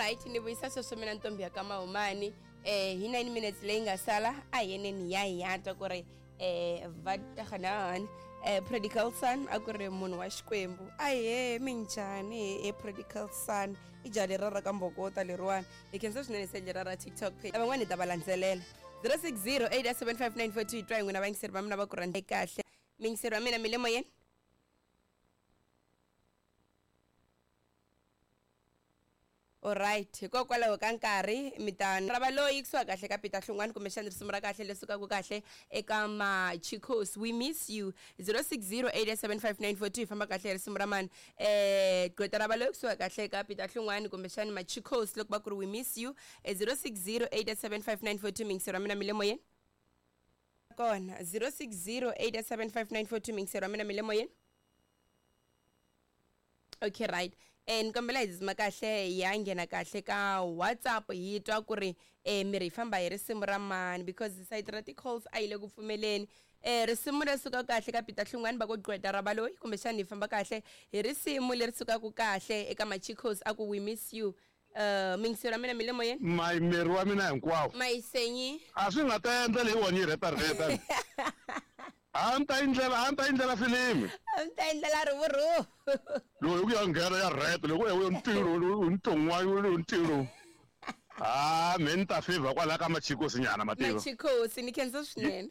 Alright, ni vuyisa sweswo mina ntombi ya ka Mahumani. Hi 9 minutes leyi nga sala a hi yeneni ya hi ya twa ku ri va taganani. Prodigal son a ku ri munhu wa Xikwembu. Ahee, minjhani he prodigal son? I jaha leriya ra ka Mbokota leriwani. Hi khensa swinene sendle ra ra TikTok page. Van'wani hi ta va landzelela. 060 875 hi twa hi n'wina vayingiseri va mina va ku rhandza kahle. Miyingiseri wa mina mi le moyeni? Alright, hikokwalaho ka nkarhi mi ta rava loyi kusuka kahle ka Peter Hlungwani kumbexana risimu ra kahle leri sukaka kahle eka Machicos we miss you 06087594 hi famba kahle hi risimu ra mani gqweta ra valoyi kusuka kahle ka Peter Hlungwani kumbexana Machicos loko va ku ri we miss you 06087594 mingisero wa mina mi le moyeni kona 06087594 mingisero wa mina mi le moyeni. Okay, right. Ni kombela hi dzima kahle ya nghena kahle ka WhatsApp hi twa ku ri miri hi famba hi risimu ra mani because sayiti ra ti-calls a yi le ku pfumeleni. Risimu leri sukaka kahle ka Peter Hlungwani va ku gqweta ra valoyi kumbexana hi famba kahle hi risimu leri sukaka kahle eka Machicos a ku we miss you. Mingiselo wa mina mi le moyeni? My miri wa mina hinkwawo. Mayisenyi. A swi nga ta endla leyi wona yi rhetarheta. A ni ta endlela, a ni ta endlela filimi. A ni ta endlela rhuvurhuvu. Loko hi ku ya nghena ya rheta, loko ya ntirho, nton'wana, ntirho. Ah, me ni ta favor kwalaya ka Machikosi nyana mativa. Machikosi, ni khensa swinene.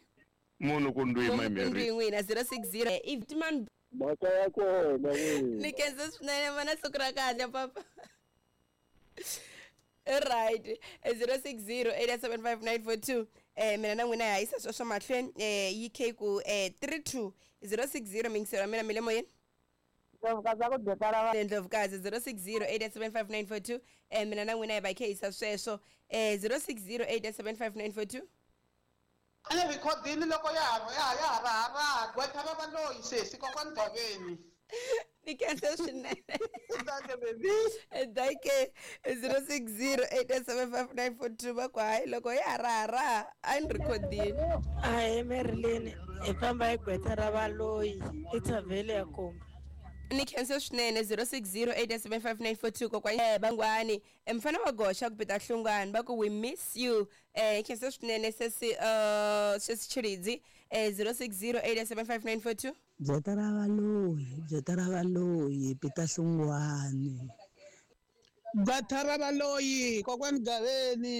Munhu ku ndwi Munhu my ku Mary. ndwi n'wina 060 if man Mhaka ya kona n'wina. Ni khensa swinene mana siku ra kahle papa. Right, 060 875 mina na n'wina hi yisa sweswo mahlweni yi khe ku 32 060 mingiselo wa mina mi le moyeni. Ndlovukazi a ku byetala va Ndlovukazi 060 875 mina na n'wina hi va hi khe yisa sweswo 060 875 A ni rhikhodini loko ya ha ya ha ya ha raha-raha gqwetha ra valoyi sesi kokwani Gaveni. Ni khensa swinene. Dankie baby. Dankie 0608755942 va ku hayi loko ya ha raha-raha a ni rhikhodini. Ahee Marilyn, hi famba hi gqwetha ra valoyi i Thavhele ya Komba. Ni khensa swinene 0608755942 kokwani Bangwani mfana wa goxa ku Peter Hlungwani va ku we miss you. Khensa swinene sesi sesi Tshilidzi 0608755942. Gqwetha ra valoyi, gqwetha ra valoyi Peter Hlungwani. Gqwetha ra valoyi kokwani Gaveni.